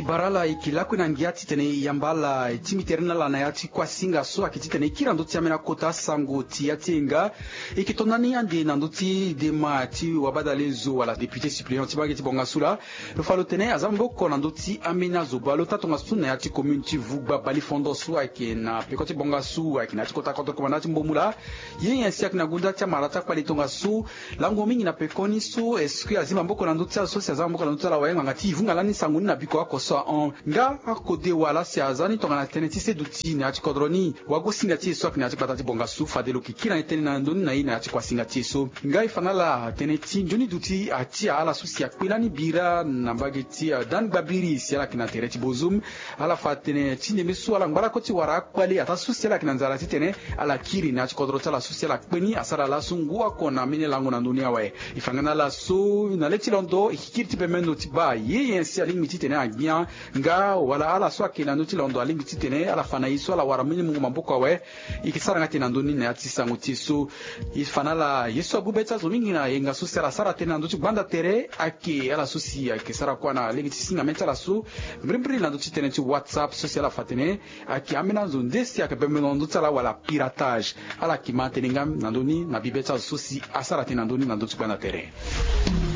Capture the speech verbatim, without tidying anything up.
Bara ala e ke lakue na ngia titene e yamba ala e tingbi tere na ala na ya ti kuasinga so ayeke titene e kiri na ndö ti ambeni akota sango ti ya ti e nga. E ke to ndani ande na ndö ti dema ti wabadale zo wala député suppléant ti mbage ti bongasu laa. Lo fa lo tene aza maboko na ndö ti ambeni azo baleota tongaso na ya ti commune ti vugba balifondo so ayeke na peko ti bongasu ayeke na ya ti kota kodro komanda ti mbomu laa. Ye nyen si ayeke na gunda ti amara ti akpale tongaso? Lango mingi na pekoni so est-ce que azi maboko na ndö ti azo so si aza maboko na ndö ti ala awe ngbanga ti e vunga lani sango ni na biko oko so ahon nga akode wala si aza ni tongana tënë ti seduti na ya ti kodro ni. Wagosinga ti e so ayeke na ya ti gbata ti bongasu fade lo ke kiri na e tënë na ndö ni na e na ya ti kuasinga ti e so. Nga e fa na ala tënë ti nzoni duti atia ala so si akpe lani bira na mbage ti dan gbabiri si ala yeke na tere ti bozum. Ala fa atene ti ndembe so ala ngba lakue ti wara akpale ataa so si ala yeke na nzara titene ala kiri na ya ti kodro ti ala so si ala kpe ni asara laso ngu oko na mbeni lango na ndö ni awe. E fa nga na ala so na le ti londo e ke kiri ti bembendo ti baa ye nyen si alingbi titene agbia nga wala ala so ayeke na ndö ti londo alingbi titene ala fa na e so ala wara mbeni mungo maboko awe. E ke sara nga tënë na ndö ni na ya ti sango ti e so. E fa na ala ye so agu be ti azo mingi na yenga so si ala sara tënë na ndö ti gbanda tere ayeke ala so si ayeke sara kua na lege ti singa mê ti ala so mbirimbiri na ndö ti tënë ti whatsapp so si ala fa atene ayeke ambeni azo nde si ayeke bembendo na ndö ti ala wala piratage. Ala yeke ma tënë nga na ndö ni na bibe ti azo so si asara tënë na ndö ni na ndö ti gbanda tere.